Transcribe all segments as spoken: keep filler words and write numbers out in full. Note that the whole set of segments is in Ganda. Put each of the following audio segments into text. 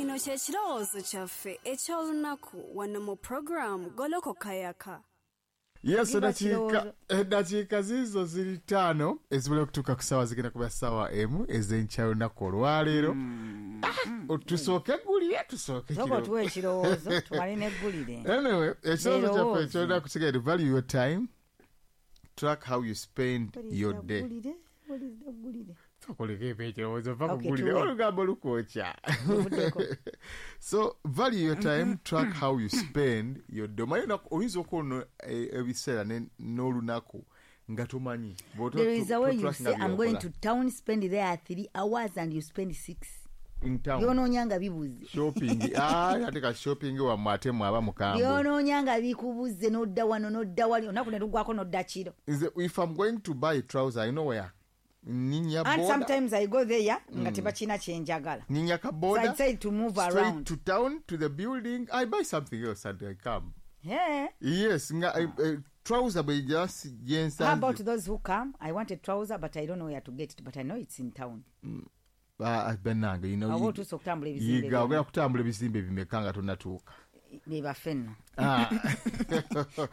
Kino kye kirowoozo kyaffe eky'olunaku wano mu program Golokoka Yaka. Yes, Giba eddakiika kirowoozo. Eddakiika ziizo ziri ttaano ezibula okutuuka ku ssaawa zigenda kuba ssaawa emu ez'enkya lunaku olwaleero. Ah, tusooke eggulire, tusooke Sooka kiro. Otuwe ekirowoozo tumale n'eggulire. Anyway, ekirowoozo kyaffe Erowooze. Eky'olunaku kigenda value your time, track how you spend your day. Ggulire, what is the ggulire? Tukoleko eba ekirowoozo va ku Okay, ggulire tuwe. Olugambo lukwokya. Luvuddeko. So value your time, track how you spend your day. Omanyi olunaku- oyinza okuba ebiseera ne- n'olunaku nga tomanyi. Bw'oto- There is a way you totrackinga say, "I'm going by'okola. To town, spend there three hours and you spend six. In town. Byonoonya nga bibuze. Shopping. Ah, ate ka shopping wammwe ate mwaba mukambwe. Byonoonya nga bikubuze n'odda wano n'odda wali olunaku ne luggwako n'odda kiro. Is it- if I'm going to buy a trouser, I know where. Ninya And boda. Sometimes I go there nga tebakina kyenjagala. Ninya ka So boda. I decide to move Straight around. To town, to the building. I buy something else and I come. Yeah. Yes, nga eh, eh, trouser bwe just gyensanze. How about those who come? "I want a trouser, but I don't know where to get it, but I know it's in town." Ah, bannange, you know, Awo you- otuuse okutambula ebizimbe yiga ogenda kutambula ebizimbe bimeka nga tonnatuuka. Be baffe nno. Ah,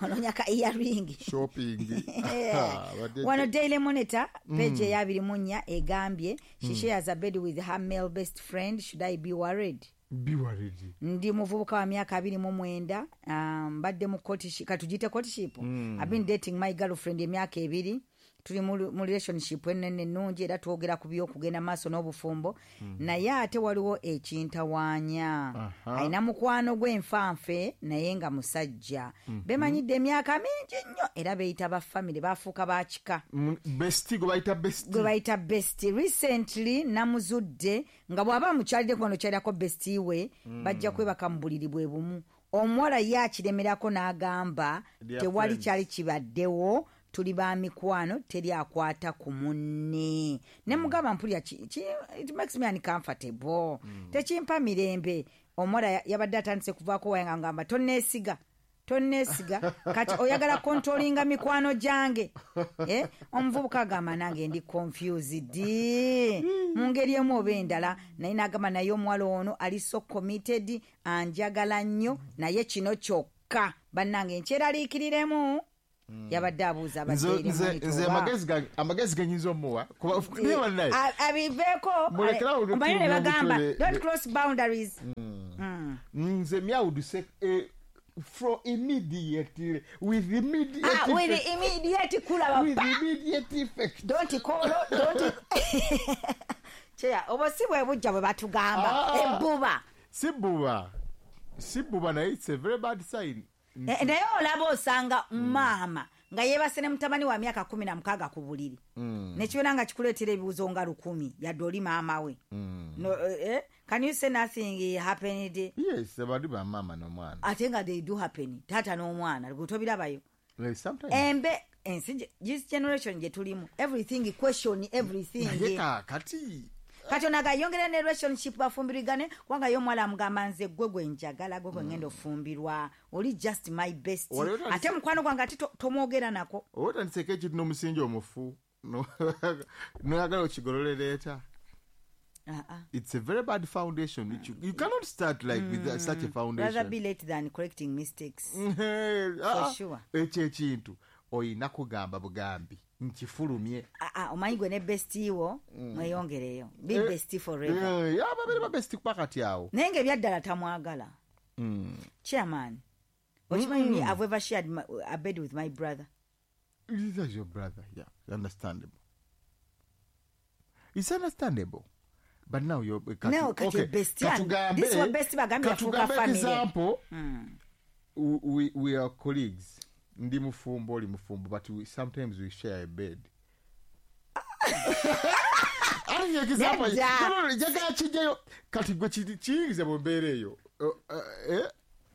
Onoonya ka earring. Shopping. Yeah. Badde- Wano Daily Monitor page eyabiri mu nnya egambye, "She shares a bed with her male best friend. Should I be worried?" Be worried. Ndi muvubuka wa myaka abiri mu mwenda, um, mbadde mu courtship, katugiyite courtship. I've been dating my girlfriend emyaka ebiri. Tuli mu mu relationship enene ennungi era twogera ku byokugenda maaso n'obufumbo, naye ate waliwo ekintawaanya. Aha. Alina mukwano gw'enfanfe naye nga musajja, bemanyidde emyaka mingi nnyo era beeyita ba family, bafuuka bakika. Mm, bestie gwe bayita bestie. Gwe bayita bestie. Recently namuzudde nga bw'aba amukyaliddeko wano kyalirako bestie we, bajja kwebaka mu buliri bwe bumu. Omuwala ye akiremerako n'agamba Dear tewali friends. Kyali kibaddewo, tuli ba mikwano, teri akwata ku munne. Ne mugamba mpulira ki- ki- it makes me uncomfortable, tekimpa mirembe. Omuwala ya- yabadde atandise kuvaako waye nga ngamba tonneesiga, tonneesiga, kati oyagala controllinga mikwano gyange. Eh? Omuvubuka agamba nange ndi confused mu ngeri emu oba endala, naye n'agamba naye omuwala ono ali so committed, anjagala nnyo, naye kino kyokka bannange nkyeraliikiriremu. Yabadde abuuza Nze- abadde nze nze amagezi gange amagezi genyinza omuwa kuba naye bannaye abiveeko. Mulekerawo Omanyi ne bagamba omutwe- don't cross boundaries. Nze me, I would say eh, for immediately, with immediate Ah, with effect, immediate kulaba with pa. Immediate effect. Don't call, don't cheya obwo si bwe bujja bwe batugamba. Ah. Ebbuba. Si bbuba, si bbuba, naye it's a very bad sign. Eh, naye olaba osanga maama nga yeebase ne mutabani wa myaka kumi na mukaaga ku buliri, nekibeera nga kikuleetera ebibuuzo nga lukumi yadde oli maama we. No, eh, eh, can you say nothing happened? Yes, bali bamaama n'omwana. Ate nga they do happen, taata n'omwana gwe tobirabayo. Like, sometimes embe ensi gye- this generation gye tulimu, everything question everything. Naye kaakati Kati onaga yongera ne relationship bafumbirigane kubanga ye omuwala amugamba nze gwe gwe njagala, gwe gwe ngenda ofumbirwa, oli just my best. Wali otandise- Ate mukwano gwange ate to- tomwogera nako. Oba otandiseko ekintu n'omusingi omufu no- noyagala okigololereeta. Ah, ah. It's a very bad foundation. It, you, you cannot start like with that, such a Rather foundation. be late than correcting mistakes. Ah, For sure. Ekyo ekintu oyina kugamba bugambi nkifulumye. Ah, ah, omanyi gwe ne bestie wo mweyongereyo, be Eh, bestie forever. Eh, ababeere ba bestie kuba kati awo. Naye nga ebyaddala tamwagala. Chairman, okimanyi me, I've ever shared my, a bed with my brother. That's your brother, yeah, understandable. It's understandable, but now you're kati, No, kati okay, bestie and- katugambe- this one bestie bagambye yafuuka katugambe family. Example, we, we, we are colleagues. Ndi mufumbo, oli mufumbo, but we, sometimes we share a bed. Ate example, Nedda. no, no, no, njagala kijjayo kati gwe kiri- kiyingize mu mbeera eyo. Uh, uh, eh,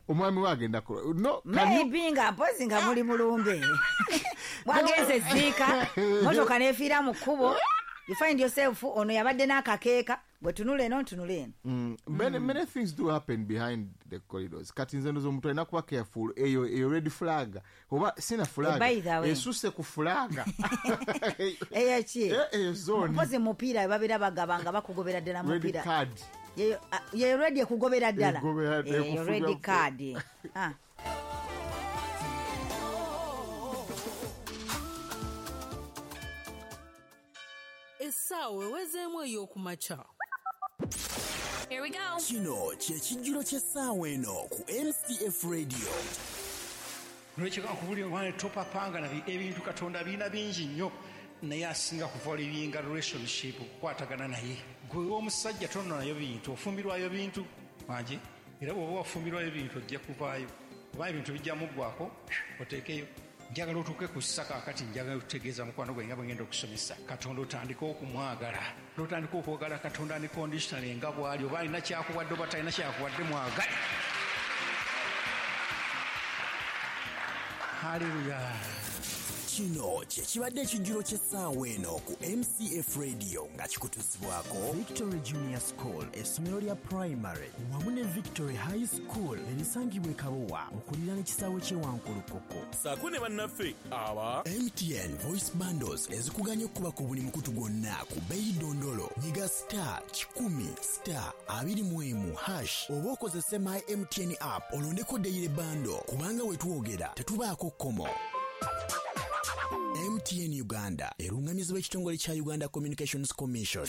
omwami we agenda ku- no, can you- Maybe nga mpozi nga muli mulumbe bwagenze ziika motoka nefiira mu kkubo. You find yourself ono yabadde n'akakeeka, gwe tunula eno ntunula eno. Mm. Many, many things do happen behind the corridors. Kati nze ndoza omuntu alina kuba careful. Eyo eyo red flag oba sina flag By the way. Esuse ku flag. Eyo ki? Eh, eyo zone. Mpozi mupiira babeera bagaba nga bakugobera ddala Red mupiira. card. Yeyo, ah, yeyo red ekugobera ddala. Ekugobera, Eyo ekufuga red fu- card. Ah. Essaawa ewezeemu ey'okumakya. Here we go. Kino kye kijjulo ky'essaawa eno ku M C F Radio. Nolwekyo nkubulira omwana, topapanga na ebintu. Katonda birina bingi nnyo, naye asinga kuvaluinga relationship, okukwatagana naye. Gwe omusajja tononayo bintu, ofumbirwayo bintu wangi, era bw'oba wafumbirwayo bintu ojja kuvaayo, oba ebintu bijja muggwako oteekeyo. Njagala otuuke ku ssa kaakati, njagala otutegeeza mukwano gwe nga bwe ngenda okusomesa. Katonda otandike okumwagala, n'otandika okwagala Katonda unconditionally nga bw'ali, oba alina kyakuwadde oba talina kyakuwadde, mwagale. Haleluya. Kino kye kibadde ekijjulo ky'essaawa eno ku M C F Radio nga kikutuusibwako Victory Junior School, essomero lya primary wamu ne Victory High School erisangibwa e Kabowa okuliraana ekisaawe ky'e Wankulukuku. Saako ne bannaffe aba M T N Voice Bundles ezikuganya okuba ku buli mukutu gwonna ku bbeeyi ddondolo. Nyiga star kikumi star abiri mu emu hash oba okozese My M T N app olondeko daily bundle, kubanga we twogera tetubaako kkomo. M T N Uganda erungamizibwa ekitongole kya Uganda Communications Commission.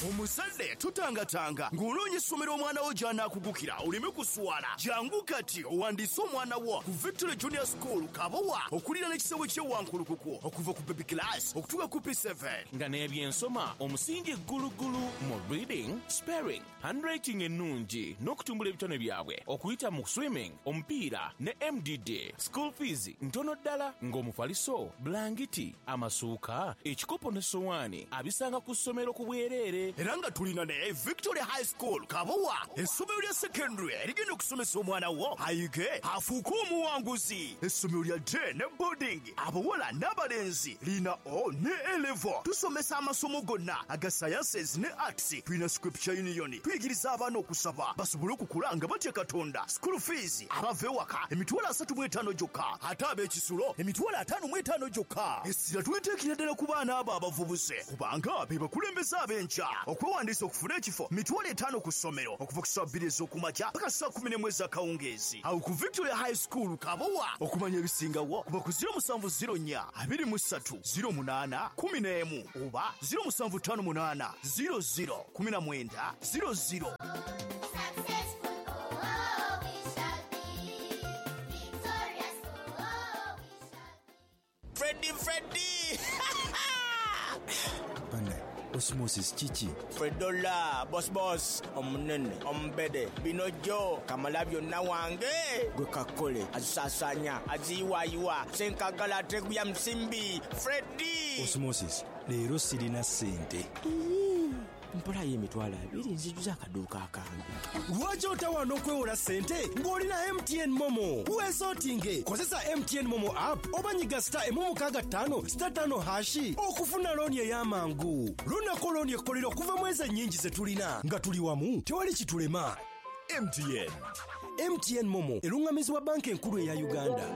Omuzadde tutangatanga ng'onoonya essomero omwana wo gy'anaakugukira oleme kuswala. Jangu kati owandiise omwana wo ku Victory Junior School Kabowa okuliraana ekisaawe ky'e Wankulukuku, okuva ku baby class okutuuka ku P seven. Nga n'ebyensoma omusingi ggulugulu mu reading, spelling, handwriting ennungi n'okutumbula ebitone byabwe okuyita mu swimming, omupiira ne M D D. School fees ntono ddala, ng'omufaliso, bulangiti, amasuuka, ekikopo ne sowaani abisanga ku ssomero ku bwereere. Era nga tulina ne Victory High School Kabowa, essomero lya secondary erigenda okusomesa omwana wo ayige afuuke omuwanguzi, essomero lya day ne boarding, abawala n'abalenzi, lina O ne A level. Tusomesa amasomo gonna aga sciences ne arts. Tulina Scripture Union, tuyigiriza abaana okusaba basobole okukula nga batya Katonda. School fees abava ewaka emitwalo asatu mu etaano gyokka, ate ab'ekisulo emitwalo ataano mu etaano gyokka. Essira tuliteekera ddala ku baana abo abavubuse kubanga be bakulembeze ab'enkya. Okwewandiisa okufuna ekifo mitwalo etaano ku ssomero, okuva ku ssaawa bbiri ez'okumakya paka ssaawa kumi n'emu ez'akawungeezi awo ku Victoria High School Kabowa. Okumanya ebisingawo kuba ku zero musanvu zero nnya abiri mu ssatu zero munaana kumi n'emu oba zero musanvu ttaano munaana zero zero kumi na mwenda zero zero. Successful, oh, oh, we shall be. Victorious, oh, oh, we shall be. Freddy, Freddy! Banne, Osmosis kiki? Fredola, boss boss, omunene, omubede, binojo, kamala byonna wange. Gwe kakole, azisaasaanya, aziyiwaayiwa, senkagala ateguya musimbi, Freddy! Osmosis, leero sirina ssente. Mpolayo emitwalo abiri nzijuza akaduuka akange. Lwaki otawaana okwewola ssente ng'olina M T N MoMo? Weesootinge, kozesa M T N MoMo app oba nyiga star emu mukaaga ttaano star ttaano hash okufuna looni ey'amangu. Lunako looni ekkolera okuva mu ezo ennyingi ze tulina. Nga tuli wamu tewali kitulema. M T N. M T N MoMo eruŋŋamizibwa Banka Enkulu eya Uganda.